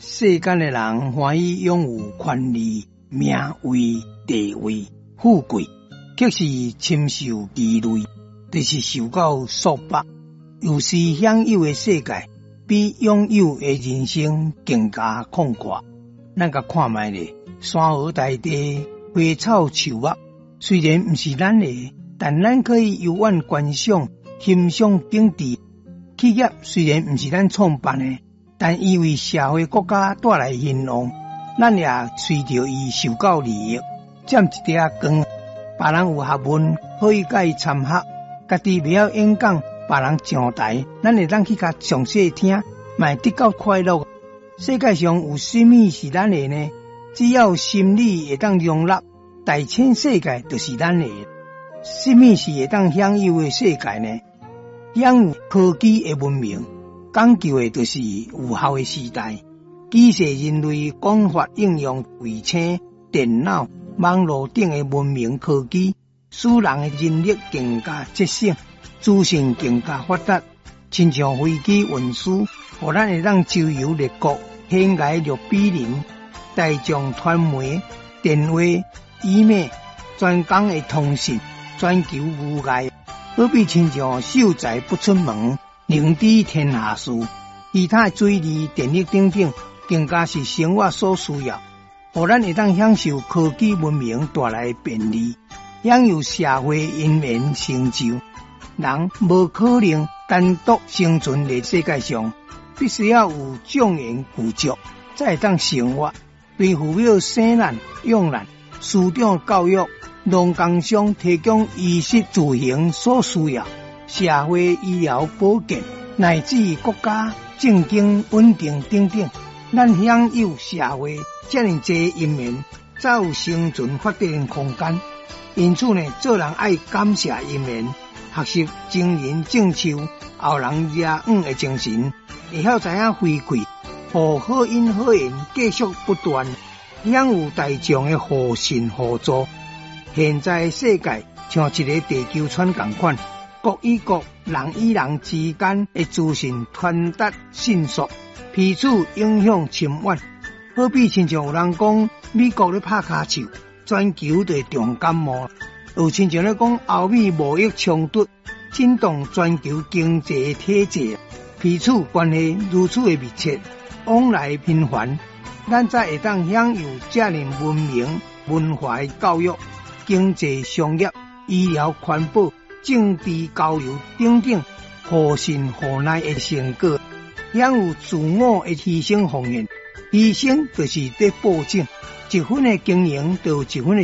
世間的人歡喜擁有權利、名位、地位、富貴，卻是深受其累，就是受到束縛。有時享有的世界，比擁有的人生更加曠闊。咱共看覓咧，山河大地、花草樹木，雖然毋是咱的，但咱可以遊玩觀賞、欣賞景致。企業雖然毋是咱創辦的，但伊為社會國家帶來興旺，咱也隨著伊受到利益。佔一塊仔光，別人有學問可以共伊參學，家己袂曉演講，別人上台，咱會當去共詳細聽，嘛會得到快樂。世界上有啥物是咱的呢？只要心理會當容納，大千世界就是咱的。啥物是會當享有的世界呢？享有科技的文明，講究的就是有效的時代。舉世人類廣泛應用衛星、電腦、網路等的文明科技，使人的人力更加節省，資訊更加發達。親像飛機運輸，予咱會當周遊列國，懸崖掠比鄰，大眾傳媒、電話、email、專工的通訊，全球無礙。好比親像秀才不出門，寧知天下事。其他的水利、電力等等，更加是生活所需要，予咱會當享受科技文明帶來的便利，享有社會姻緣成就。人無可能單獨生存佇世界上，必須要有眾緣具足，才會當生活。對父母生咱、養咱、師長教育、農工商提供衣食住行所需要，社會醫療保健，乃至國家政經穩定等等，咱享有社會遮爾濟因緣，才有生存發展空間。因此呢，做人愛感謝因緣，學習前人種樹，後人遮雨的精神，會曉知影回饋，予好因好緣繼續不斷，享有大眾的互信互助。現在世界像一个地球村仝款，國與國、人與人之間的資訊傳達迅速，彼此影響深遠。好比親像有人講美國咧拍跤手，全球就會重感冒；又親像咧講歐美貿易衝突，震動全球經濟體制，彼此關係如此的密切，往來頻繁，咱才會當享有遮爾文明文化的教育、經濟商業、醫療環保、政治交流等等互信互賴的成果，享有自我的犧牲奉獻。犧牲就是佇播種，一分的經營就有一分的。